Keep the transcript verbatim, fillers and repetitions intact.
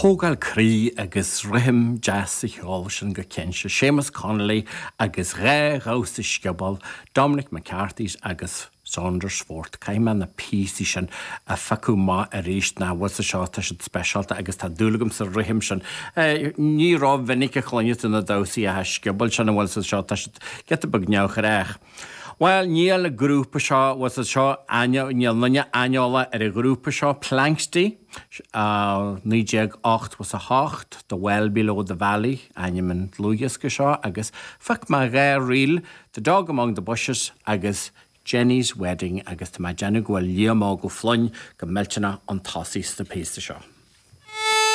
Tógáil croí agus rithim deas sa cheol sin go cinnte. Séamus Connolly agus dhá dhamhsa sciobóil, Dominic McCarthy's agus Saundersfoot. Caithfidh mé na píosaí sin a phiocadh amach arís ná bhfuil sa seo tá siad speisialta agus tá dúil agam sa rithim sin. Ní rómhinic a chluineann tú na damhsaí a sciobóil sin a bhfuil sa seo tá siad giota beag neamhghnách. Well níl an grúpa seo was seo níl duine aineolach ar an ghrúpa seo Planxty naoi déag ochtó a hocht The Well Below the Valley ainm an dlúthdhiosca seo agus phioc mé dhá ríl The Dog Among the Bushes agus Jenny's Wedding agus tá mé ag déanamh go bhfuil Liam Óg Ó Floinn go millteanach chun tosaigh sa píosa seo.